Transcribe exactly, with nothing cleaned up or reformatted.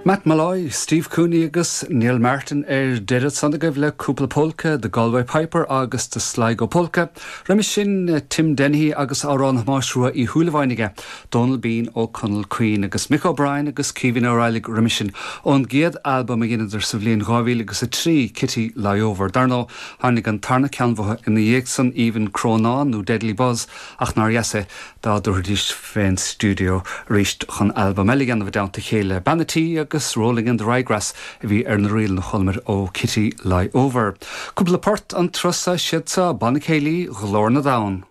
Matt Molloy, Steve Cooney agus Neil Martin ar deireadh san agaibh le cúpla polca The Galway Piper agus the Sligo Polka. Roimhe sin eh, Tim Dennehy agus amhrán Thomáis Rua Uí Shúilleabháin aige, Donal Bean ó Conall Caoin agus Mick O'Brien agus Caoimhín Ó Raghallaigh roimhe sin ón gcéad albam a dheineadar sa bhliain dhá mhíle agus a trí Kitty Lie Over. Dar ndóigh tháinig an tarna ceann uathu ina dhiaidh san Aoibhinn Crónán nó Deadly Buzz ach nár dheas é dá dtabharfaidís fén stiúideo arís chun albam eile a dhéanamh i dteannta a chéile. Bean an tí agus Rolling in the Ryegrass a bhí ar na ríleanna a chualamar ó Kitty Lie Over. Cúpla port an turas siad sa Banna Céilí Ghlór na dTonn.